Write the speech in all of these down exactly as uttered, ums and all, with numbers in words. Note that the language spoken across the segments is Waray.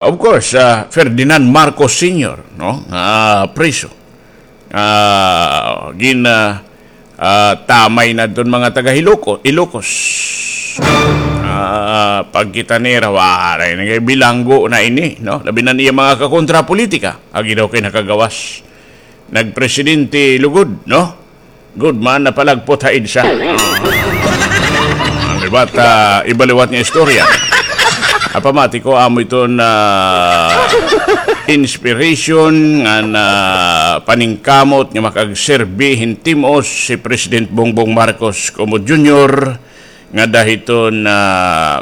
Of course, ah, Ferdinand Marcos Senior, no? Ah, priso. Ah, gin, ah, ah, tamay na iton mga taga Ilocos, Ilocos. Ah, pagkita nira, waray na kay bilanggo na ini, no? Labi na niya mga kakontra politika. Agi daw kay nakagawas. Nagpresidente lugod, no? Good man, napalagpot ha EDSA. Ano ba ta, iba liwat nga istorya. Apamati ko, amo iton inspiration nga na paningkamot nga makagserbi hin tim-os si President Bongbong Marcos Kumo Junior ngada hiton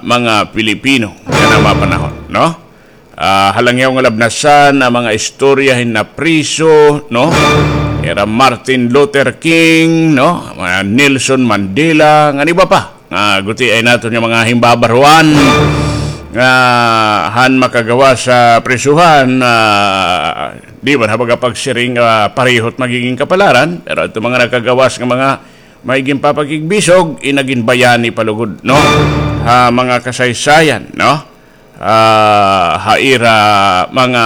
mga Pilipino nga namapanahon, no? Ah, halangyaw nga labnasan an mga istorya hin napriso, no? Ira Martin Luther King, no? Mga Nelson Mandela, ngan iba pa. Ah, guti ay naton nga mga himbabaruan nga han makagawas sa prisuhan, ah, di man ha baga pagsiring, ah, parehot magiging kapalaran, pero ito mga nakagawas nga mga may ginpapakigbisog, inaginbayani palugod, no? Ha mga kasaysayan, no? Ah, ha ira mga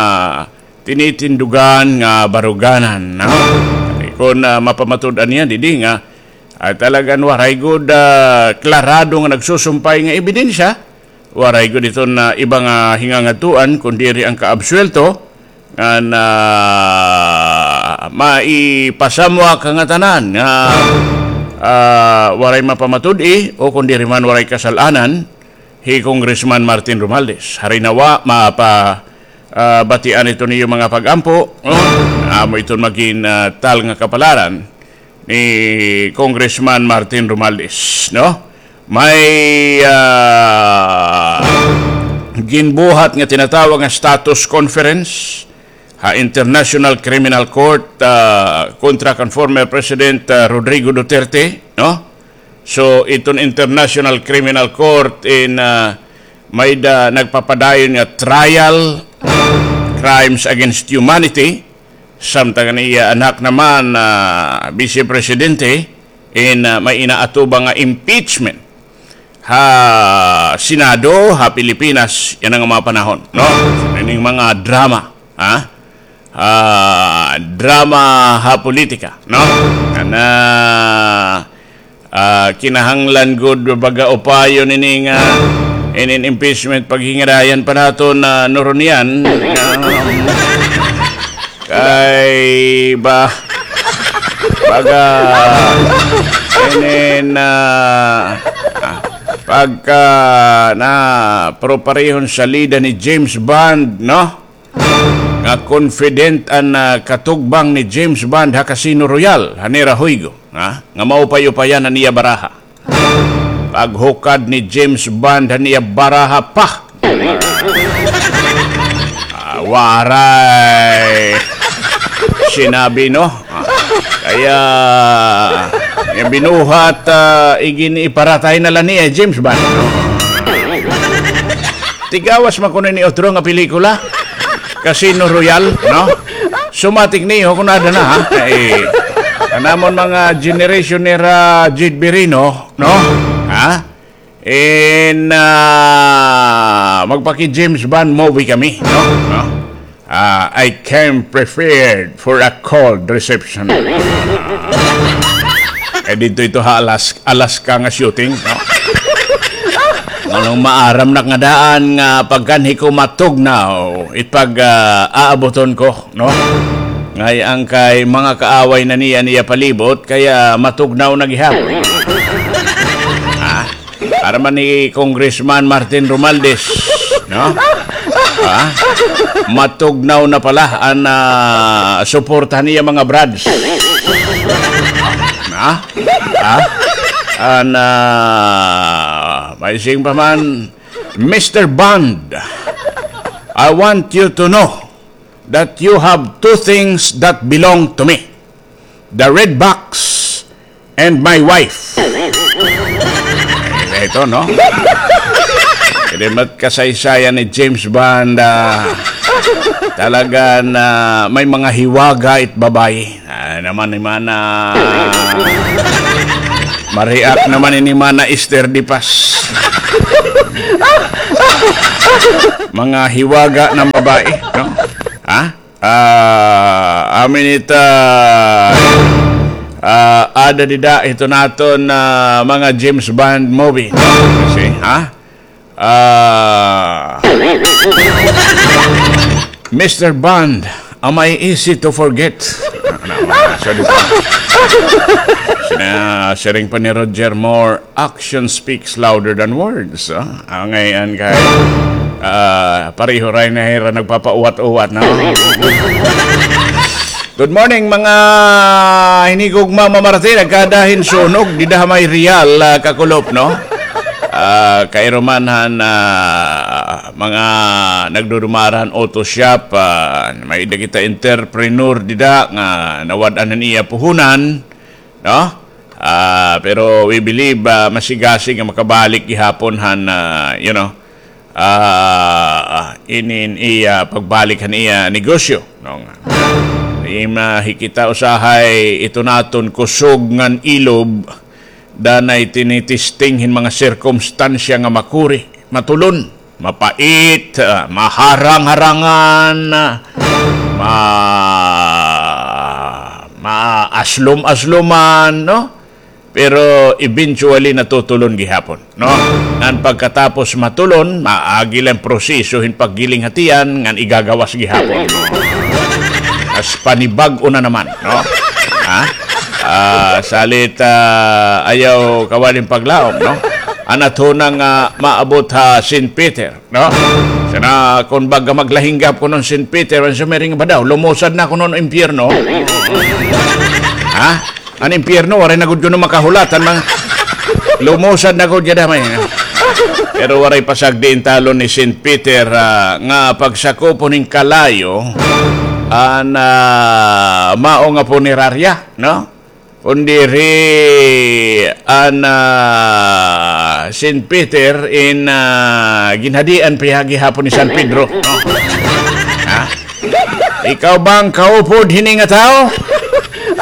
tinitindugan nga baruganan, no? Kon, ah, mapamatud-an niya, didi nga, ah, talagan waray gud, ah, klarado nga nagsusumpay nga ebidensya, waray gud iton, ah, iba nga hingangadtuan, kun diri an kaabsuwelto, ngan, ah, maipasamwak ha ngatanan nga, ah, waray mapamatud-i, o kun diri man waray kasal-anan, hi Congressman Martin Romualdez. Hari nawa, mapa, ah, batian iton iyo mga pag-ampo, no? Amo iton magin, ah, tal nga kapalaran ni Congressman Martin Romualdez, no? May, ah, ginbuhat nga tinatawag nga status conference ha International Criminal Court, ah, kontra kan former President, ah, Rodrigo Duterte, no? So, iton International Criminal Court in, ah, may da nagpapadayon nga trial, crimes against humanity, samtang an iya anak naman, ah, Vice Presidente, in, ah, may inaatubang nga impeachment ha Senado, ha Pilipinas, yana nga mga panahon, no? Ining mga drama, ha? Ah, drama ha politika, no? Ana, ah, kinahanglan gud baga upayon ini nga inin impeachment paghingarayan pa naton, ah, Noronian. Kay ba, baga, inin, ah, ah, pagka na proparehon salida ni James Bond, no? Nga confident an, ah, katugbang ni James Bond ha Casino Royale, ha nira huygo, ha? Nga maupay-upayan an iya baraha. Paghukad ni James Bond han iya baraha pa. Ah, waray sinabi, no? Ah, kaya, nga binuhat, ah, igin-iparatay na la niya, James Bond, no? Tigawas man kuno ini utro nga pelikula. Casino Royale, no? Sumatik niyo kun ada na, ha? Eh, an amon mga generation nira Jade Birino, no? Ha? In, ah, magpaki-James Bond movie kami, no? No? Ah, I came prepared for a cold reception. Eh, didto ito ha Alas-, Alaska nga shooting, no? Nganong maaram na nga daan nga pagkanhi ko matugnaw, it pag, ah, aaboton ko, no? Ngay-an kay mga kaaway na niya, niya palibot, kaya matugnaw na gihapon. Ah, para man ni Congressman Martin Romualdez, no? Ah, matugnaw na pala an, ah, suporta niya mga brads. Ah? Ah? An, ah, may sing pa man, Mister Bond, I want you to know that you have two things that belong to me. The red box and my wife. Ay, ito, no? Kay mat kasaysayan ni James Bond, ah, talaga na may mga hiwaga it babayi. Ah, naman ni Mana. Ma-react naman ini Mana Esther Dipas. Mga hiwaga ng babae, no? Ha? Ah, amin ita, ah, ada dida ito naton, ah, mga James Bond movie, no? Kasi, ha? Ah, Mister Bond, am I easy to forget? Ano, ano, sorry po. Sina-, siring pa ni Roger Moore, "Action speaks louder than words." Ah, ah, ngayon kay, ah, pareho ray na hira nagpapauwat-uwat, no? Good morning, mga hinigugma, Mama Martin. Nagkada hin sunog dida ha may Real, ah, Kakulop, no? Ah, kairuman han, ah, mga nagdudumara han auto shop, ah, may-ada kita entrepreneur dida nga nawad-an han iya puhunan, no? Ah, pero we believe, ah, masigasig nga makabalik gihapon han, ah, you know, ah, inin iya pagbalik han iya negosyo, no? Nga, ah, hikita usahay ito naton kusog ngan ilob, danay tinitesting hin mga sirkumstansya nga makuri, matulon, mapait, ah, maharang-harangan, ah, ma-, maaslom-asloman, no? Pero eventually natutulon gihapon, no? Ngan pagkatapos matulon, maagi la an proseso hin paggiling ha tiyan, ngan igagawas gihapon. As panibag-o na naman, no? Ha? Ah, salit, ah, ayaw kawali hin paglaom, no? An aton nga maabot ha Saint Peter, no? Sana kon baga maglahinggap kuno an Saint Peter, an sumiring ba daw, lumusad na kuno an impyerno. Ha? An impyerno, waray na gud kuno makahulat, an mga lumusad na gud gihap, damay, no? Pero waray pa sagdi in talon ni Saint Peter, ah, nga pagsakupon hin kalayo, an, ah, mao nga punerarya, no? Kun diri an, ah, Saint Peter in, ah, ginhadian pa gihapon ni San Pedro, no? Ha? Ikaw ba an kaupod hini nga tawo?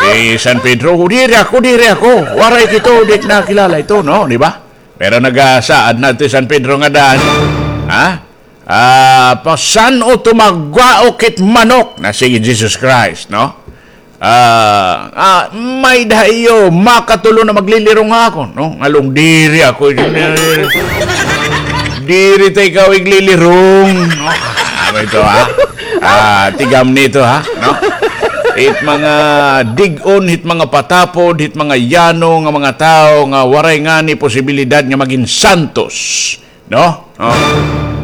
Si San Pedro, "O, diri ako, diri ako. Waray kito, di nakilala ito, no?" Di ba? Pero nagasaad na ito si San Pedro nga daan. Ha? Ah, pasan-o tumagwaok hit manok na si Jesus Christ, no? Ah, ah, may-ada ha iyo makatulon nga maglilirong ha akon, no? Ngalong diri ako, diri ta ikaw iglilirong, no? Ah, ito, ha? Ah, tigam nito, ha? No? Hit mga dig-on, hit mga patapod, hit mga yano nga mga tawo nga waray ngani posibilidad nga magin santos. No? Oh.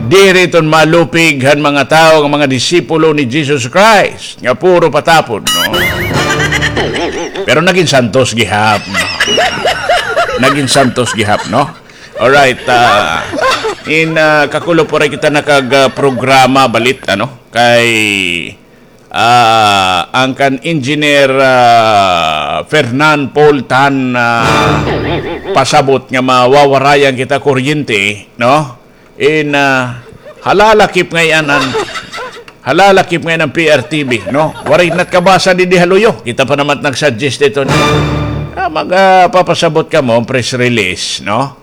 Diri iton malupig han mga tawo nga mga disipulo ni Jesus Christ, nga puro patapod, no? Pero nagin santos gihap, no? Nagin santos gihap, no? Alright, ah, in, ah, Kakulop, waray kita nakag, ah, programa balit, ano? Kay ah, an kan Engineer, ah, Fernan Paul Tan, ah, pasabot nga mawawarayan kita kuryente, no? In, ah, halalakip ngay-an an, halalakip ngay-an an P R T V, no? Waray nakabasa didi ha luyo. Kita pa naman nag-suggest ito, no? Ah, mag, ah, papasabot kamo press release, no?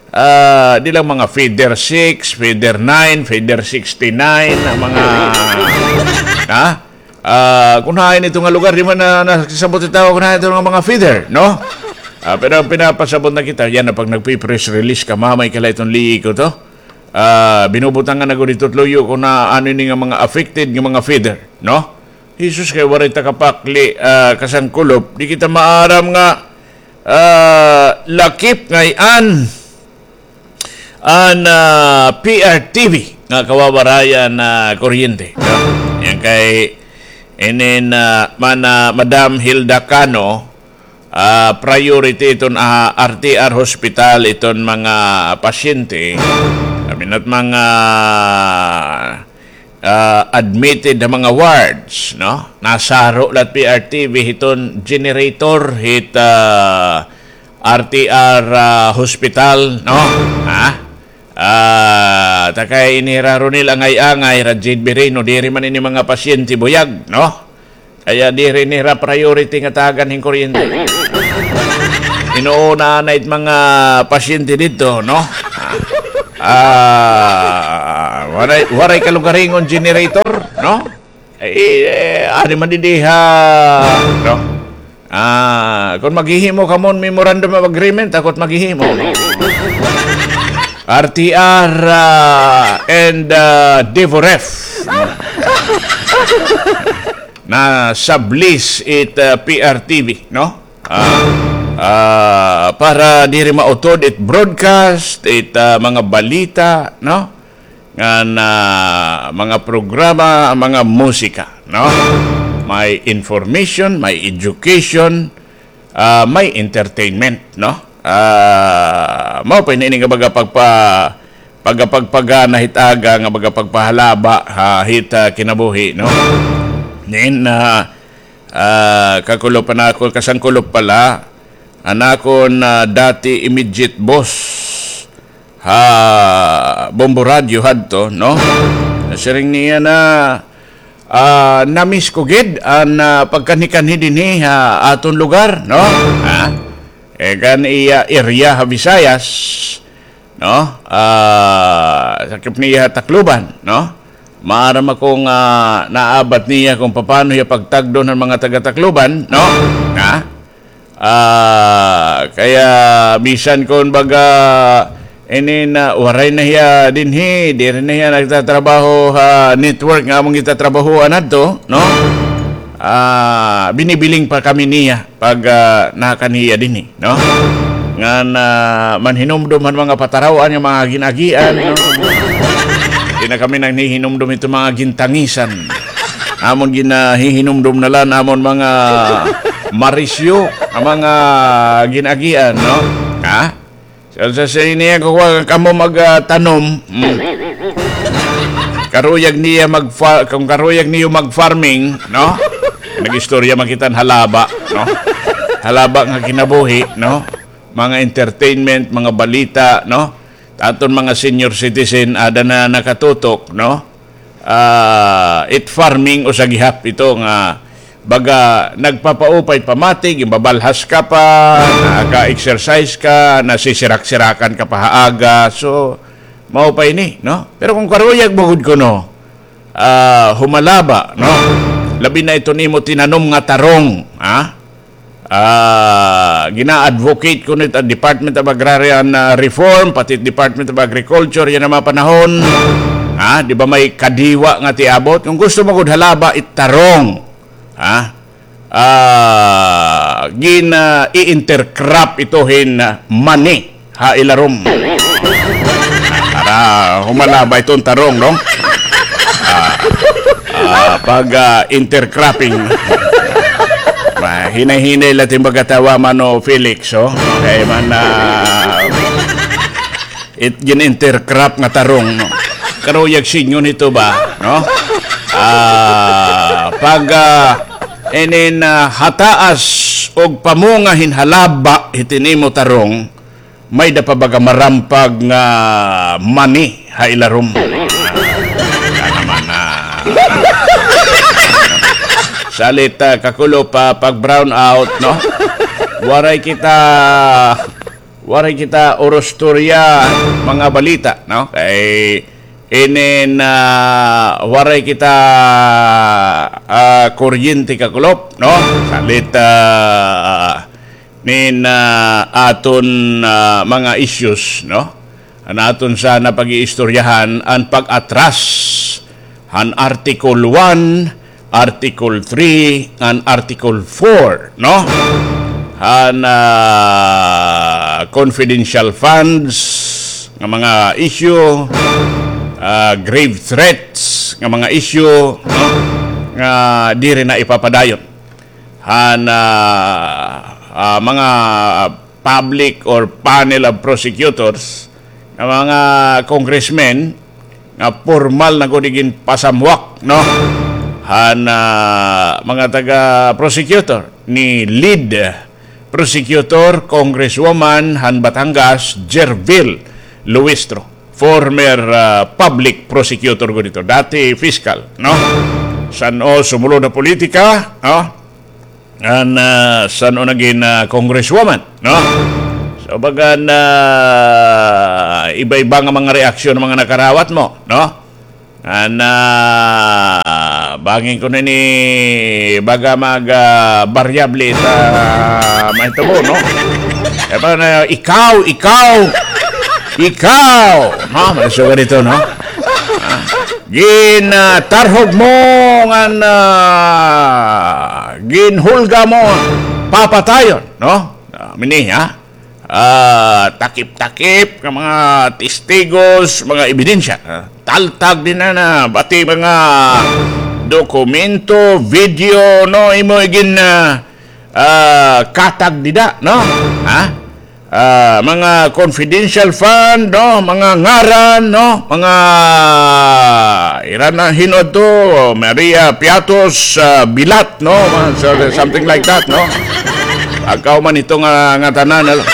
Ah, di lang mga feeder six, feeder nine, feeder sixty-nine, an mga, ha? Ah, kun hain ito nga lugar, di man na, nasabot ito, kun hain ito nga mga feeder, no? Ah, pero an pinapasabot na kita, yana pag nagpi-press release ka, mamay ka la iton liiko to. Ah, binubutangan na gud ito luyo kun ano ini nga mga affected nga mga feeder, no? Jesus, kay waray ta kapakli, ah, kasangkulop, di kita maaram nga, ah, lakip ngay-an an, ah, P R T V nga kawawarayan na kuryente. Yan kay inin, ah, mana-, Madam Hilda Cano, ah, priority iton, ah, R T R hospital iton mga pasyente. Kami na't mga ah, admitted ha mga wards, no? Nasaro la it P R T V hiton generator hit, ah, R T R, ah, hospital, no? Ha? Ah, ta kay ini hira Ronel angay-angay, hira Jade Bireno, diri man ini mga pasyente buyag, no? Kaya diri nira priority nga tagan hin kuryente. Inuuna na it mga pasyente didto, no? Ah, Ah, waray, waray kalugaringon generator, no? Eh, eh, ari man didi ha, no? Ah, kon maghihimo kamo hin memorandum of agreement, ako it maghihimo, no? R T R, ah, and, ah, Devoref, no? Na sublease it, ah, P R T V, no? Ah, ah, para diri mautod it broadcast, it, ah, mga balita, no? Ngan, ah, mga programa, mga musika, no? May information, may education, ah, may entertainment, no? Ah, mao pa ini nga baga pagpa-, pagapagpagana hit aga nga baga pagpahalaba ha hit, ah, kinabuhi, no? Nin, ah, ah, kakulop pa na ako, kasangkulop pala, an akon, ah, dati immediate boss ha Bombo Radio hadto, no? Siring niya na, ah, "Na-miss ko gid an, ah, pagkanhi-kanhi dinhi ha aton lugar, no?" Ha? Eh, kan iya area ha Visayas, no? Ah, sakop niya ha Tacloban, no? Maaram ako nga naabat niya kon papaano hiya pagtagdon han mga taga-Tacloban, no? Ha? Ah, kaya bisan kon baga ini na, waray na hiya dinhi, diri na hiya nagtatrabaho ha network nga amon gitatrabahoan adto, no? Ah, binibiling pa kami niya pag, ah, nakanhi hiya dinhi, no? Ngan, ah, manhinumdom han mga pataraw-an nga mga gin-agian, no? Di na kami nanghihinumdom hito mga gintangisan. Amon ginahihinumdom na la an amon mga marisyo, an mga gin-agian, no? Ha? Sa, sa, sa ini, kukuha kamo mag, ah, tanom. Mm. Karuyag niya mag-fa-, kon karuyag niyo mag-farming, no? Nag-istorya man kita hin halaba, no? Halaba nga kinabuhi, no? Mga entertainment, mga balita, no? Aton mga senior citizen, ada na nakatutok, no? Ah, it farming usa gihap ito nga baga nagpapaupay pamati, ginbabalhas ka pa, naka-exercise ka, nasisirak-sirakan ka pa ha aga. So, mao pa ini, no? Pero kon karuyag mo gud kuno, ah, humalaba, no? Labi na iton imo tinanom nga tarong, ha? Ah, gina-advocate kuno it Department of Agrarian, ah, Reform, pati Department of Agriculture, yana mga panahon. Ha, di ba may kadiwa nga tiabot? Kon gusto mo gud halaba it tarong, ha? Ah, gina-i-intercrop ito hin, ah, mani ha ilarom. Para humalaba iton tarong, no? Ah, ah, pag, ah, intercropping. Mahinay-hinay la it im pagkatawa, Mano Felix, oh. Kay man, ah, it gin-intercrop nga tarong, no? Karuyag singon ito ba, no? Ah, pag, ah, inin, ah, hataas og pamunga hin halaba hit imo tarong, may-ada pa baga marampag nga mani ha ilarom. Kana man na. Salit, ah, kakulop pa pag brown out, no? Waray kita, waray kita urustorya, mga balita, no? Kay inin, ah, waray kita, ah, kuryente, kakulop, no? Salit, ah, nin, ah, aton, ah, mga issues, no? An aton sana pag-iistoryahan an pag-atras han Article one, Article three, ngan Article four, no? Han, ah, confidential funds nga mga issue, ah, grave threats nga mga issue, no? Nga diri na ipapadayon han, ah, ah, mga public or panel of prosecutors, nga mga congressmen nga pormal na gud ginpasamwak, no? Han, ah, mga taga-prosecutor ni lead prosecutor, Congresswoman han Batangas, Gerville Luistro, former, ah, public prosecutor gud ito, dati fiscal, no? San-o sumulod ha politika, no? An, ah, san-o nagin, ah, congresswoman, no? So, baga na iba-iba nga mga reaksyon ng mga nakarawat mo, no? An, ah, bangin ko na ini, baga mag, ah, variable ta mahitabo, no? E pa na, ikaw, ikaw, ikaw, no? May suga dito, no? Ah, gin, ah, tarhog mo ngan, ah, ginhulga mo papatayon, no? Ah, mini, ha? Ah, takip-takip nga mga testigos, mga ebidensya. Ah, taltag din na na, bati mga dokumento, video, no, imo igin, ah, ah, katag dida, no? Ha? Ah, mga confidential fund, no? Mga ngaran, no? Mga ira na hinod to, Maria Piatos, ah, Bilat, no? Mga so-, something like that, no? Agkaw man ito nga, nga tanan, no?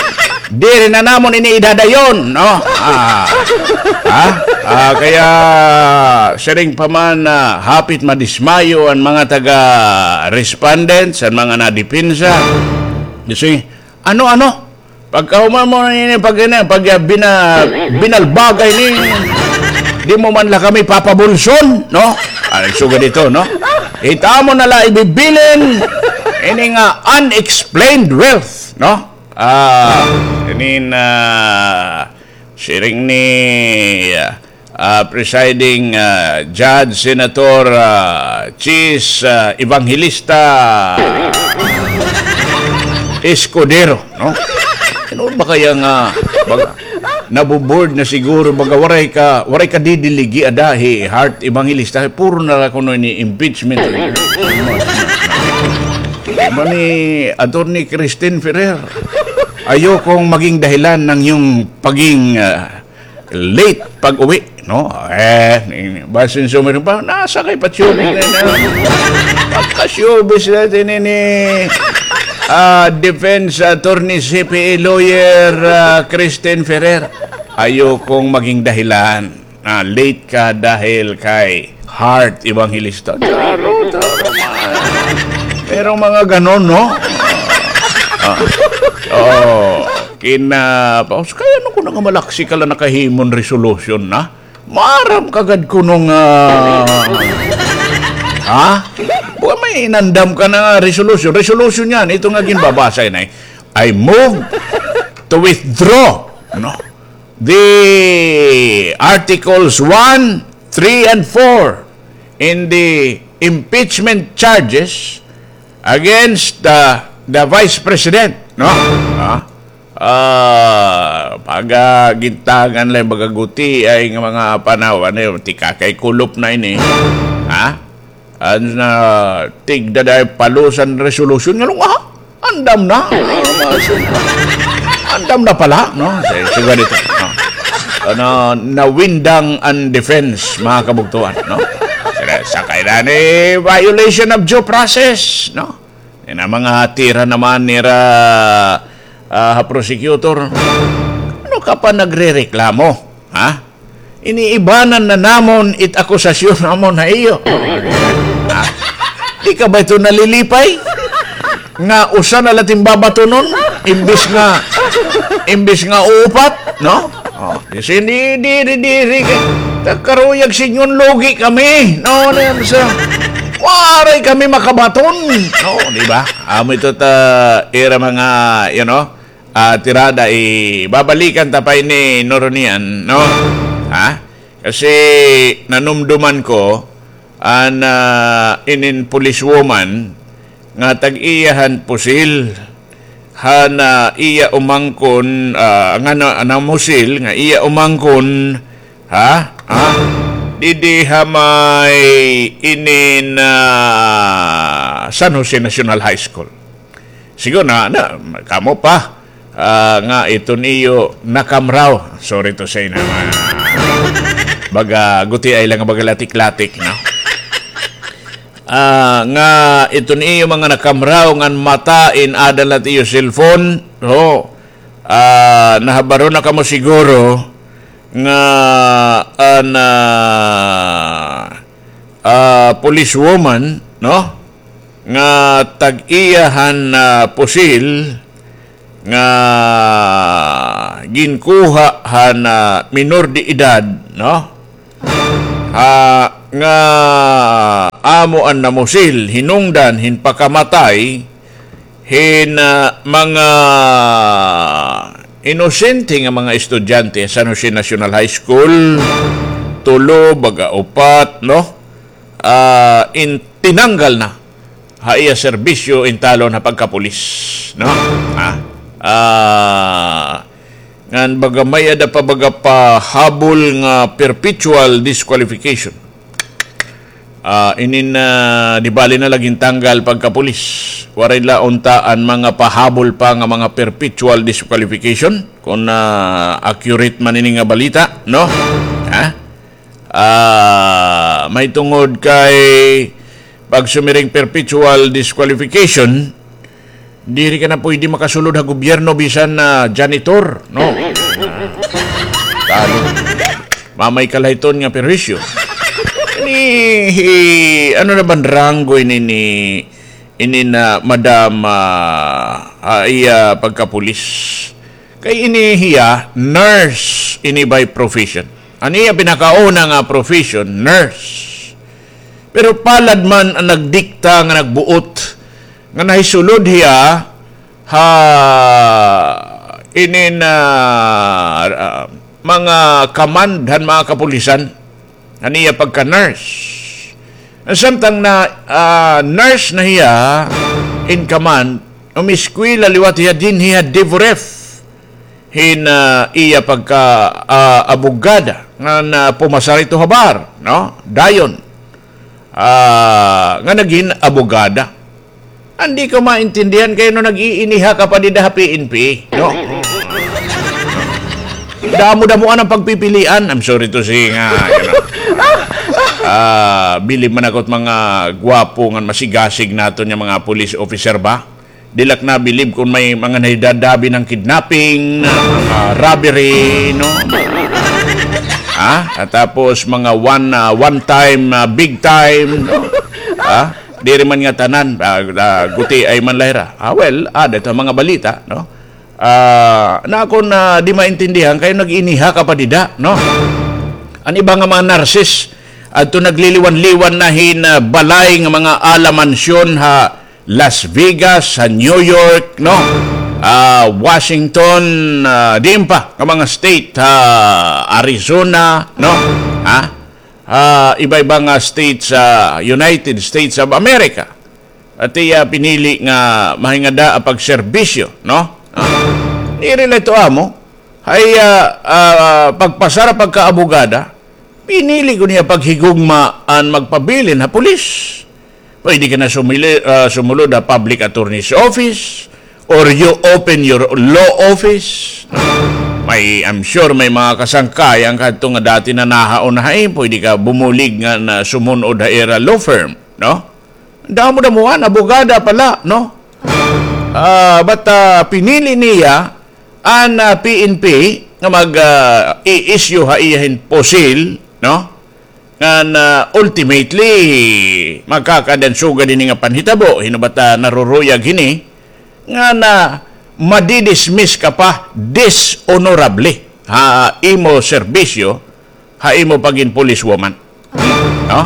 Diri na namon ini idadayon, no? Ah, ha? Ah, kaya siring pa man, ah, hapit madismayo an mga taga respondents, an mga nadepensa. Kasi, ano, ano? Pagkahuman mo ini, pag, ini, pag, ah, bina-, binalbagay ni, di mo man la kami papabulson, no? Ay, sugad ito, no? Ita mo na la ibibilin, ini nga unexplained wealth, no? Ah, ini na, siring ni, ah, ah, presiding, ah, judge, Senator, ah, Chiz, ah, Evangelista Escudero, no? Ano ba kaya nga, baga, nabubored na siguro, baga, waray ka, waray ka didiligi ada hi Heart Evangelista, puro na la kuno ini impeachment. Mani Attorney Christine Ferrer, ayokong maging dahilan ng iyong paging, ah, late pag-uwi, no? Eh, ni-, ni-, basin sumiring pa, nasa kay pa showbiz na yun, ah. Pagka-showbiz na yun, ni, ni, ah, defense attorney, C P A lawyer, ah, Christine Ferrer. Ayokong maging dahilan na late ka dahil kay Heart Evangelista. Taro, taro, man. Merong mga ganon, no? Ah, oo. Kina, paus, kaya ano ko na nga malaksi ka lang nakahimon resolution na? Maaram ka gad kuno nga, ha? Wa may inandam ka na nga resolution. Resolution yan. Ito nga ginbabasa yun ay, "I move to withdraw," no? The Articles one, three, and four in the impeachment charges against the, the Vice President, no? Ah, ah, pagagintagan la, baga gutiay nga mga panaw, ano yun, tikakay kulop na ini. Ha? An, ah, tigda day palusan resolution nga lunga, ha? Andam na. Andam na pala, no? Sige, sige dito. No? Ano, nawindang an defense, mga kabugtuan, no? Sila, sakay na ni violation of due process, no? Yan ang mga tira naman nira, ah, prosecutor. Ano ka pa nagrereklamo? Ha? Iniibanan na namon it akusasyon namon ha iyo. Ah, di ka ba ito nalilipay? Nga usa na la it im babatonon, imbis nga, imbis nga upat, no? Oh, di, di, di, di, di, karuyag sinyon lugi kami. No, ano yan sa, waray kami makabaton. No, di ba? Amo ito ta, ira mga, you know, ah, tirada, ibabalikan ta pa ini, Noronian, no? Ha? Kasi nanumduman ko, an, ah, inin policewoman nga tag-iya han pusil, han, ah, iya umangkon, ah, nga na, namusil, nga iya umangkon, ha? Ha? Didi ha may inin, ah, San Jose National High School. Siguro na, na, kamo pa, ah, nga iton iyo nakamraw. Sorry to say na, ah, baga gutiay la nga baga latik-latik, no? Ah, nga iton iyo mga nakamraw ngan mata in-ada la it iyo cellphone, no? Ah, nahabaro na kamo siguro nga an, ah, ah, policewoman, no? Nga tag-iya han, ah, pusil, nga ginkuha han, ah, minor de edad, no? Ha, nga amo an namusil, hinungdan hin pakamatay hin, ah, mga inosente nga mga estudyante sa San Jose National High School, tulo, baga upat, no? Ah, in, tinanggal na ha iya serbisyo in talon ha pagkapulis, no? Ha? Ah, ngan baga may-ada pa baga pahabol nga perpetual disqualification. Ah, inin, ah, di bali na la gintanggal pagkapulis. Waray la unta an mga pahabol pa nga mga perpetual disqualification, kon, ah, accurate man ini nga balita, no? Ha? Ah, mahitungod kay pagsumiring perpetual disqualification, diri ka na pwede makasulod ha gobyerno bisan na janitor, no? Talo. Mamay ka la hiton nga perwisyo. Ini, hi-, ano na ba an ranggo ini ni, ini na madam, ah, ah, iya pagkapulis? Kay ini hiya, nurse ini by profession. An iya pinakauna nga profession, nurse. Pero palad man an nagdikta nga nagbuot nga nahisulod hiya ha inin, ah, ah, mga command han mga kapulisan, han iya pagka-nurse. Samtang na, ah, nurse na hiya in command, umiskwela liwat hiya dinhi ha DevRef hin, ah, iya pagka, ah, abogada nga na pumasar ito ha bar, no? Dayon, ah, nga nagin abogada. An di ko maintindihan kay ano nag-iiniha ka pa dida ha P N P, no? Damo-damoan an pagpipilian. I'm sorry to say nga, you know. Ah, bilib man ako hit mga gwapo ngan masigasig naton nga mga police officer ba? Diri la ak nabilib kon may mga nahidadabi nga kidnapping, mga robbery, no? Ha? At tapos mga one, ah, one time, ah, big time, no? Ha? Diri man nga tanan, ah, ah, gutiay man la hira. Ah, well, ada ito mga balita, no? Ah, na ako na di maintindihan kay nag-iiniha ka pa dida, no? An iba nga mga nurses, adto nagliliwan-liwan na hin, ah, balay nga mga ala mansyon ha Las Vegas, ha New York, no? Ah, Washington, ah, diin pa nga mga state, ha Arizona, no? Ha? Ah, iba-iba nga states sa United States of America. At iya pinili nga mahingada ang pagserbisyo, no? Ah, diri la ito amo. Hay, ah, ah, pagpasar ha pagkaabogada, pinili ko niya paghigugma an magpabilin ha pulis. Pwede ka na sumili-, ah, sumulod ha public attorney's office or you open your law office. May, I'm sure may mga kasangkayan kadto nga dati na nahaon na hay, pwede ka bumulig nga na sumunod ha ira law firm, no? Damo-damoan, abogada pala, no? Ah, but, ah, pinili niya an, ah, P N P nga mag, ah, i-issue ha iya hin pusil, no? Ngan, ah, ultimately, makakadan sugad ini nga panhitabo, hin-o ba ta naruruyag hini, nga na madidismiss ka pa dishonorably ha imo serbisyo, ha imo pagin policewoman. No?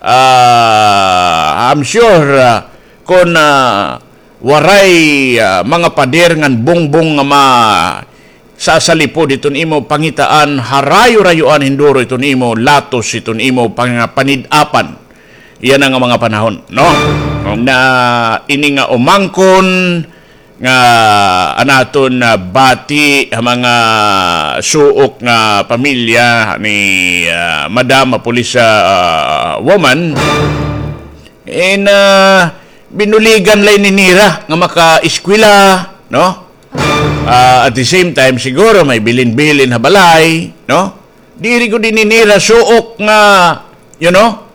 Ah, I'm sure, ah, kon, ah, waray, ah, mga pader ngan bongbong nga ma-, sasalipod hiton imo pangitaan, harayo-rayoan hin duro hiton imo latos, hiton imo pang-, panid-apan. Yana nga mga panahon, no? Na ini nga umangkon nga an aton, ah, bati ha mga suok nga pamilya ni, ah, Madam, ah, Police, ah, Woman, in, ah, binuligan la ini nira nga makaeskwela, no? Ah, at the same time, siguro may bilin-bilin ha balay, no? Diri gud ini nira suok nga, you know,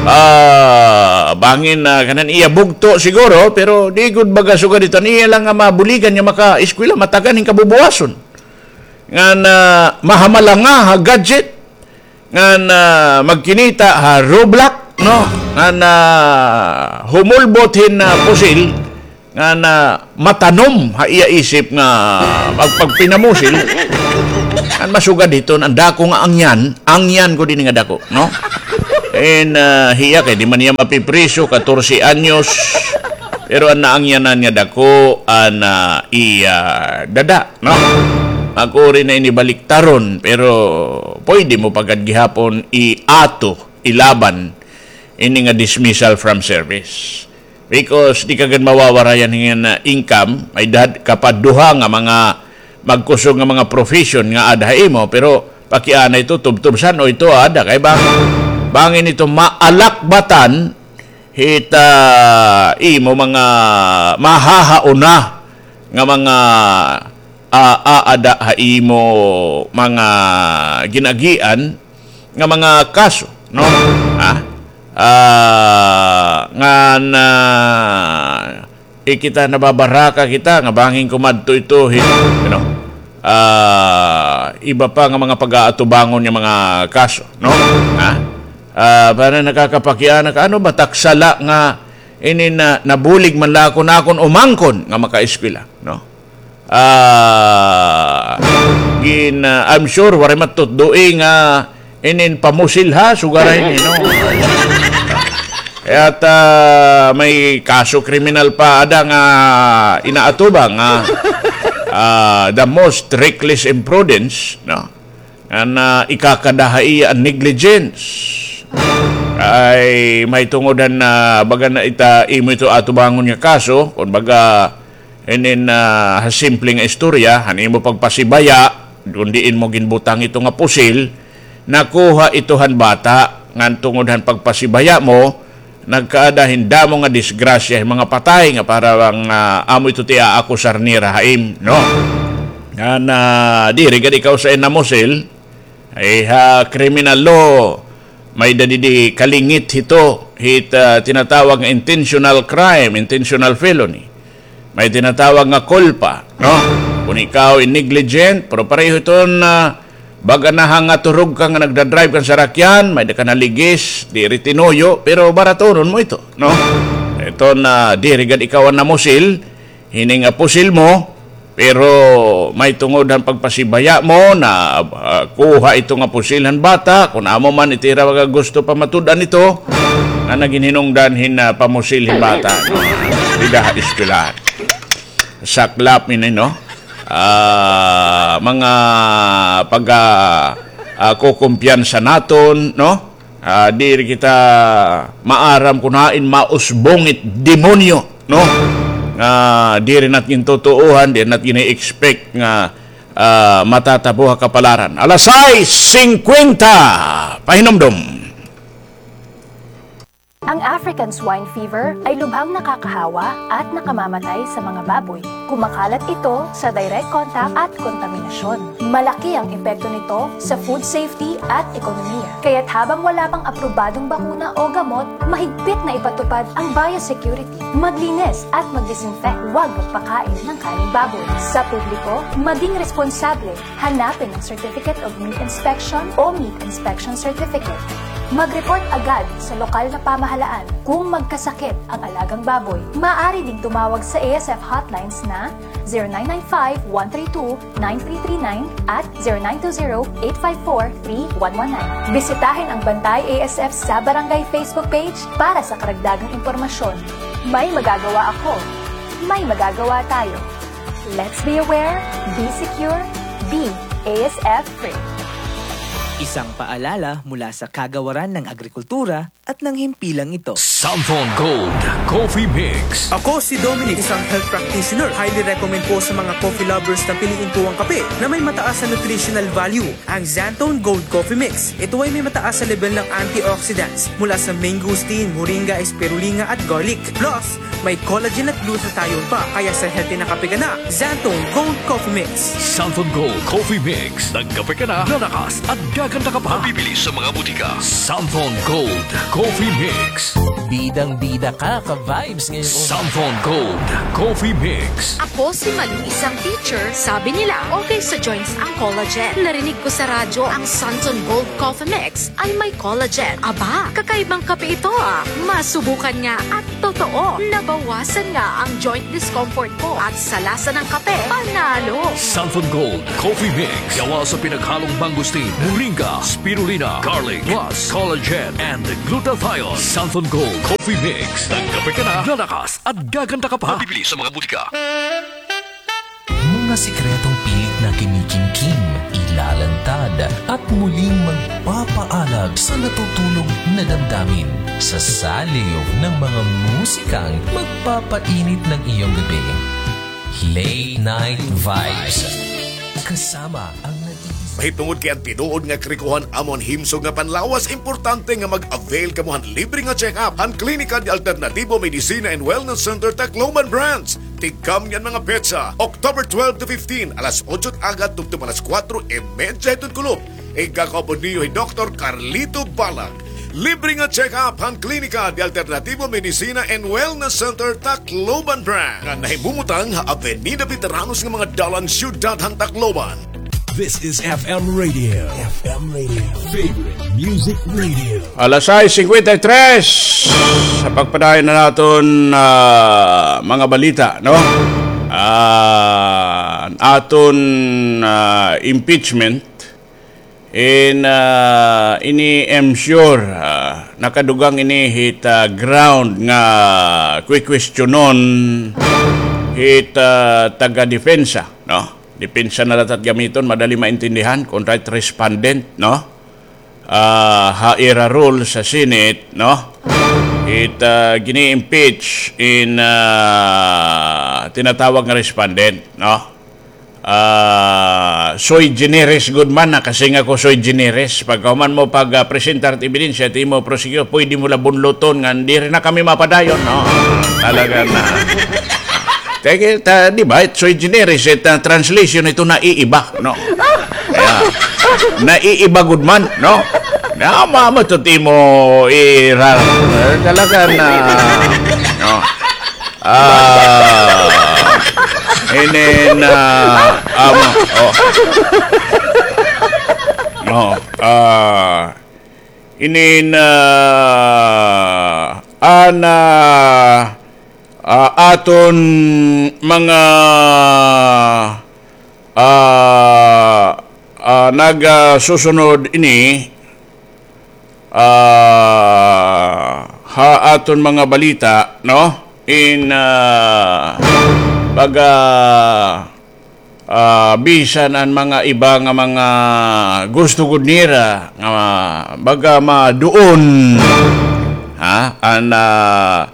ah, bangin na kanan iya bugto siguro, pero di gud baga sugad ito niya lang nga mabuligan nga makaeskwela, matagan hin kabubuwason. Ngan, ah, mahamalanga ha gadget, ngan, ah, magkinita ha Roblox, no? Ngan, ah, humulbot hin, ah, pusil, nga na matanom ha iya isip nga magpagpinamusil, an masugad hiton, an dako nga angyan, angyan ko dinhi nga dako, no? And, ah, hiya kay di man hiya mapipriso, katorse anyos, pero an naangyanan nga dako, an, ah, iya dada, no? Magkuri na ini baliktaron, pero pwede mo pa gad gihapon iato, ilaban, ini nga dismissal from service. Because di ka gad mawawarayan hin, ah, income, may-ada ka pa duha nga mga magkusog nga mga profession nga aada ha imo, pero pakiana ito, tubtob san-o ito aada, kay bang, bangin ito maalakbatan hit, ah, imo mga mahahauna nga mga, ah, aada ha imo mga gin-agian nga mga kaso, no? Ha? Ah, ngan, ah, eh, kita nababaraka kita nga bangin kumadto ito, hi-, you know, ah, iba pa nga mga pag-aatubangon nga mga kaso, no? Ha? Ah, para nakakapakiana ka, ano ba, tak sala nga inin na, nabulig man la ako nakon umangkon nga makaeskwela, no? Ah, gin, ah, I'm sure waray matutdoi nga inin pamusil ha, sugara ini, no? Kay at, ah, may kaso kriminal pa ada nga inaatubang nga, ah, the most reckless imprudence, no? An, ah, ikakada ha iya an negligence. Ay mahitungod han, ah, baga na ita imo ito atubangon nga kaso, kon baga, inin, ah, ha simple nga istorya, han imo pagpasibaya, kon diin mo ginbutang ito nga pusil, nakuha ito han bata, ngan tungod han pagpasibaya mo, nagkaada hin damo nga disgrasya, hin mga patay nga para bang, ah, amo ito ti aakusar nira ha im, no? Ngan, ah, diri gad ikaw sa namusil, ay ha criminal law, may-ada didi kalingit hito, hit, ah, tinatawag nga intentional crime, intentional felony. May tinatawag nga culpa, no? Kon ikaw in negligent, pero pareho iton, ah, baga na ha nga turog ka nga nagdadrive kan sarakyan, may-ada ka naligis, diri tinuyo, pero baratonon mo ito, no? Iton, ah, diri gad ikaw an namusil, hini nga pusil mo, pero mahitungod han pagpasibaya mo na, ah, kuha ito nga pusil han bata, kon amo man iti ira nga gusto pa matud-an ito, nga nagin hinungdan hin, ah, pamusil hin bata, no? Dida ha eskwelahan. Saklap ini, no? Ah, mga pag, ah, ah, kukumpiyansa naton, no? Ah, diri kita maaram kon hain mausbong it demonyo, no? Nga diri nat gintutuohan, diri nat gini-expect nga, ah, matatabo ha kapalaran. Alas sais singkwenta, pahinumdom. Ang African swine fever ay lubhang nakakahawa at nakamamatay sa mga baboy. Kumakalat ito sa direct contact at kontaminasyon. Malaki ang epekto nito sa food safety at ekonomiya. Kaya't habang wala pang aprobadong bakuna o gamot, mahigpit na ipatupad ang biosecurity. Maglinis at mag-disinfect, huwag magpakain ng karneng baboy. Sa publiko, maging responsable. Hanapin ang Certificate of Meat Inspection o Meat Inspection Certificate. Mag-report agad sa lokal na pamahalaan kung magkasakit ang alagang baboy. Maaari ding tumawag sa A S F hotlines na zero nine nine five, one three two, nine three three nine at zero nine two zero, eight five four, three one one nine. Bisitahin ang Bantay A S F sa Barangay Facebook page para sa karagdagang impormasyon. May magagawa ako. May magagawa tayo. Let's be aware, be secure, be A S F free. Isang paalala mula sa Kagawaran ng Agrikultura at ng himpilang ito. Samthon Gold Coffee Mix. Ako si Dominic, isang health practitioner. Highly recommend ko sa mga coffee lovers na piliin ko ang kape na may mataas na nutritional value, ang Xanthone Gold Coffee Mix. Ito ay may mataas na level ng antioxidants mula sa mangosteen, moringa, spirulina at garlic. Plus, may collagen at glutathione pa, kaya sa healthy na kape ka na, Xanthone Gold Coffee Mix. Xanthone Gold Coffee Mix. Nagkape ka na, lalakas at gaganda ka pa. Mabibili sa mga butika. Xanthone Gold Coffee Mix. Bidang-bida ka, ka-vibes ngayong umaga. Santhon Gold Coffee Mix. Ako si Malu, isang teacher. Sabi nila, okay sa joints ang collagen. Narinig ko sa radyo, ang Santhon Gold Coffee Mix ay may collagen. Aba, kakaibang kape ito, ah. Masubukan nga at totoo, nabawasan nga ang joint discomfort ko at sa lasa ng kape, panalo. Santhon Gold Coffee Mix. Gawa sa pinaghalong mangosteen, moringa, spirulina, garlic, plus collagen and glutathione. Santhon Gold Coffee Mix. Nagkape ka na, lalakas at gaganda ka pa. Mabibili sa mga butika. Mga sikretong pilit na kinikimkim, ilalantad, at muling magpapaalab sa natutulog na damdamin. Sa saliw ng mga musikang magpapainit ng iyong gabi. Late Night Vibes. Kasama ang nag-iisip. Mahitungod kay an tinuod nga karikohan amo an himsog nga panlawas, importante nga mag-avail kamo han libre nga check-up han Klinika de Alternativo Medicina and Wellness Center, Tacloban Branch. Tigkam niyan mga petsa, October twelve to fifteen, alas otso it aga tubtob alas kuwatro y medya hiton kulop. Igakaupod niyo hi Doktor Carlito Balag. Libre nga check-up han Klinika de Alternativo Medicina and Wellness Center, Tacloban Branch, nga nahimumutang ha Avenida Veteranos nga mga dalan, siyudad han Tacloban. This is F M Radio. F M Radio. Favorite Music Radio. Alas sais singkwenta y tres. Sa pagpadayon na naton, ah, mga balita, no? Ah, aton, ah, impeachment. In, ah, ini, I'm sure, ah, nakadugang ini hit, ah, ground nga kwi-kwestiyonon hit, ah, taga-depensa, no? Depensa na la it at gamiton, madali maintindihan, kontra hit respondent, no? Ah, ha ira role sa Senate, no? It, ah, gini-impeach in, ah, tinatawag nga respondent, no? Ah, sui generis gud man, nakasiring ako sui generis. Pagkahuman mo pag, ah, presentar it ebidensya, it imo prosecutor, pwede mo la bunluton nga diri na kami mapadayon, no? Talaga na. Kay, ta-, di ba, it sui generis, it, ah, translation ito naiiba, no? Kaya, naiiba gud man, no? Na, ma-, ma-, to timo i-, ra-, talaga na, no? Ah, ini na, amo, oh. Oh, ah, ini na, ana, ah, aton mga, ah, ah, nagasusunod ini, ah, ha aton mga balita, no? In, ah, baga, ah, bisan an mga iba nga mga gusto gud nira nga baga maduon, ha? An, ah,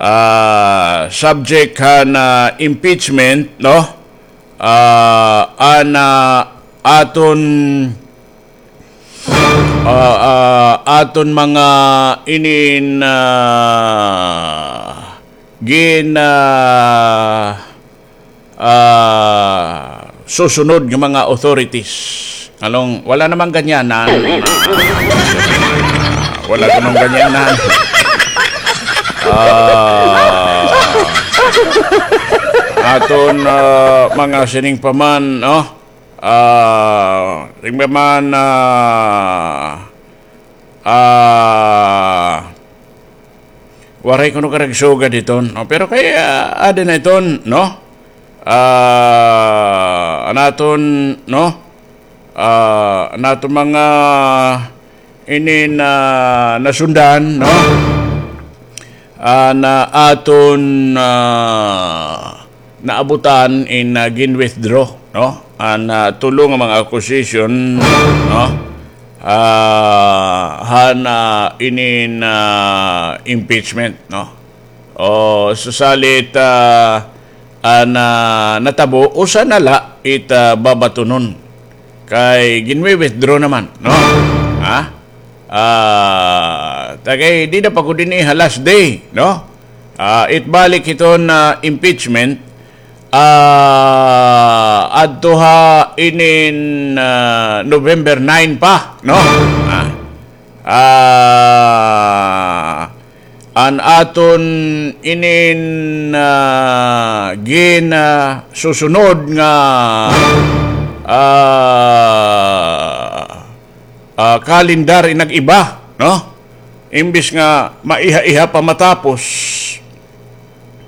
ah, subject han, ah, impeachment, no? Ah, an, ah, aton, ah, ah, aton mga inin, ah, gin, ah, ah, susunod nga mga authorities. Nganong, wala namang ganyanan. Wala namang ganyanan. Ah, aton, ah, mga sining pa man, no? Ah, sining pa man, ah, ah, waray kuno karagsugan iton, no? Pero kay, ah, adi na iton, no? Ah, an aton, no? Ah, an aton mga ini na nasundan, no? Ah, na aton, ah, naabutan in, ah, gin-withdraw, no? An, ah, tulo nga mga accusation, no? Ah, han, ah, inin, ah, impeachment, no? O, susalit, ah, an, ah, natabo, usa na la it, ah, babatunon. Kay ginwi-withdraw naman, no? Ha? Ah, ta kay dida pa gud ini ha last day, no? Ah, it balik hiton, ah, impeachment, ah, adto ha inin, ah, November nine pa, no? Ah, ah, an aton inin, ah, gin, ah, susunod nga, ah, ah, kalendar inag-iba, no? Imbis nga maiha-iha pa matapos,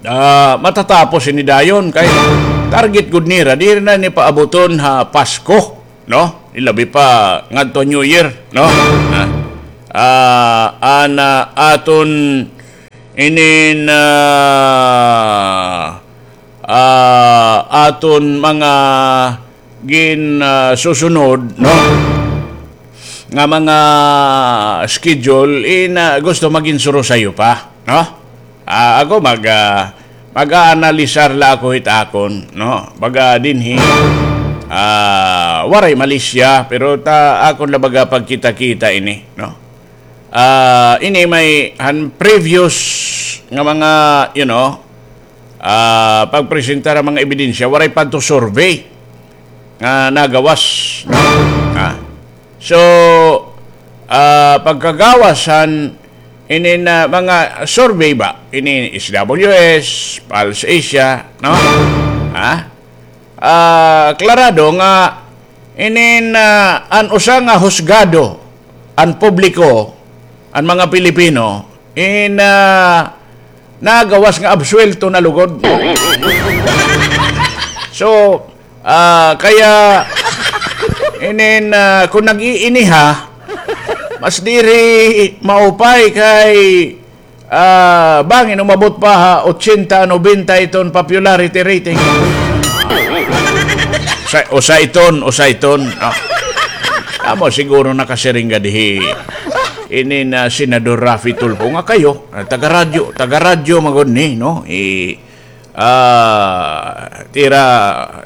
ah, matatapos ini dayon kay target gud nira, diri na ni paabuton ha Pasko, no? Ilabi pa ngadto New Year, no? Ah, ah, an, ah, aton inin, ah, ah, aton mga gin, ah, susunod, no? Nga mga schedule, in, ah, gusto magin surosayo pa, no? Ah, ako mag, ah, mag-aanalisar la ako hit akon, no? Baga dinhi, ah, waray malisya, pero ta, akon la baga pagkita-kita ini, no? Ah, ini may han previous nga mga, you know, ah, pagpresentar han mga ebidensya, waray pa adto survey nga nagawas, no? Ah. So, ah, pagkagawas han inin, ah, mga survey ba, ini S W S, Pulse Asia, no? Ha? Ah, klarado nga inin, ah, an usa nga husgado, an publiko, an mga Pilipino, in, ah, nagawas nga absuwelto na lugod. So, ah, kaya inin, ah, kon nag-iiniha, mas diri maupay kay, ah, bangin umabot pa ha ochenta, nobenta iton popularity rating. Usa, usa iton, usa iton. Ah. Amo siguro nakasiring gad hi inin Senador Raffy Tulfo nga kayo, ah, taga-radyo, taga-radyo man gud ni, no? I, ah, tira,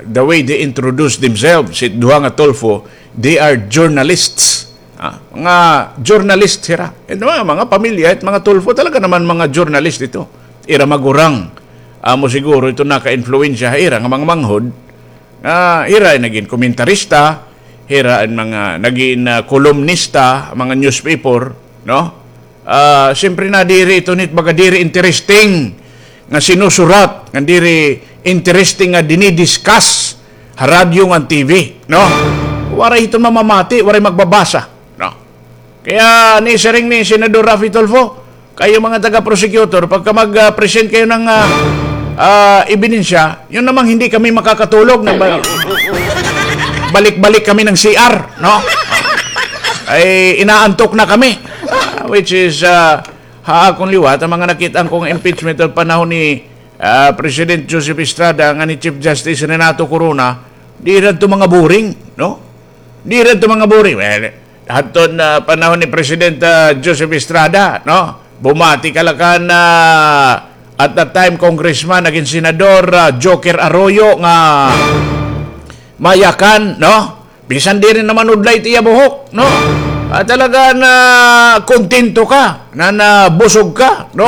the way they introduce themselves, it duha nga Tulfo, they are journalists. Ah, mga journalist hira. Ito mga, mga pamilya, it mga Tulfo, talaga naman mga journalist ito. Ira magurang. Amo siguro ito naka-influensya ha ira nga mga manghod. Ah, hira an nagin komentarista, hira an mga nagin, ah, kolumnista, mga newspaper, no? Ah, siyempre nadiri ito nit baga diri interesting nga sinusurat, nga diri interesting nga dinidiscuss ha radyo ngan T V, no? Waray ito mamamati, waray magbabasa, no? Kaya nisiring ni Senador Raffy Tulfo, kayo mga taga-prosecutor, pagka mag, ah, present kayo ng, ah, ah, ebidensya, yun namang hindi kami makakatulog, nagba-, balik-balik kami ng C R, no? Ay, inaantok na kami. Ah, which is, ah, ha akon liwat, an mga nakit-an ko nga impeachment han panahon ni, ah, President Joseph Estrada ngan ni Chief Justice Renato Corona, diri adto mga boring, no? Diri adto mga boring. Well, hadton, ah, panahon ni President, ah, Joseph Estrada, no? Bumati ka la kan, ah, at that time, Congressman, nagin Senador, ah, Joker Arroyo nga mayakan, no? Bisan diri naman udlay it iya buhok, no? Ah, talaga na kontento ka, na nabusog ka, no?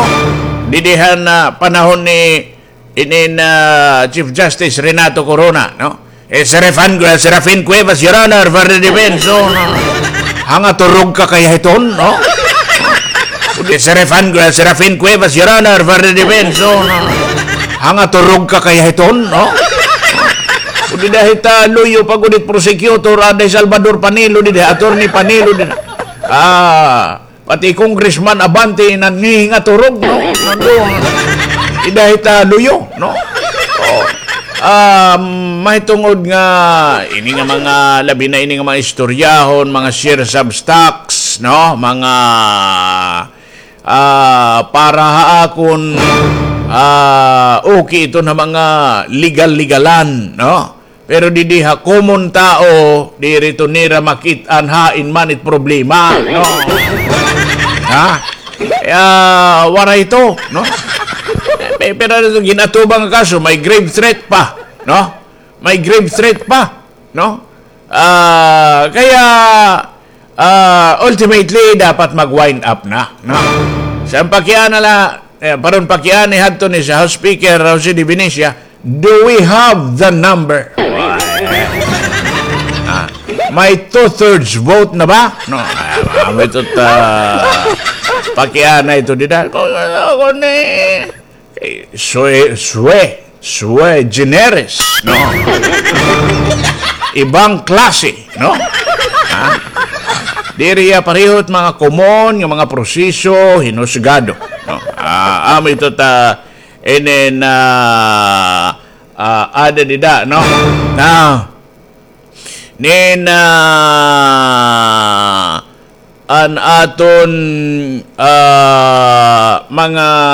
Didi han, ah, panahon ni inin, ah, Chief Justice Renato Corona, no? Eh, Serafin, Serafin Cuevas, Your Honor, for the defense, no? Hangaturog ka kaya hiton, no? Serafin, Serafin Cuevas, Your Honor, for the defense, no? Hangaturog ka kaya hiton, no? Dida hita luyo pa gud it prosecutor, aday Salvador Panelo, dida, Attorney Panelo, dida. Ah, pati Congressman Abante, nangingaturog, no? Nandun. Dida hita luyo, no? Oh. Ah, mahitungod nga, ini nga mga, labi na ini nga mga istoryahon, mga shares of stocks, no? Mga ah, para ha akon, ah, okay ito na mga legal-legalan, no? Pero didi ha common tao, diri ito nira makit-an hain man it problema, no? Ha? Kaya, waray ito, no? Pe-, pero ito, ginatubang nga kaso, may grave threat pa, no? May grave threat pa, no? Ah, kaya, ah, ultimately, dapat mag-wind up na, no? Sa pakiana la, eh, paron pakiani hadto ni sa House Speaker Jose de Venecia, do we have the number? Ah, may two-thirds vote na ba? No, ah, may tut-, ah, Pakiana ito dida. Kung ano ko ni, eh, sue, sue, sue generis, no? Ibang klase, no? Ha? Diri iya pareho it mga common nga mga proseso, hinusgado, no? Ah, amo ito ta, inin, ah, ah, ada dida, no? Na, nin, ah, an aton, ah, mga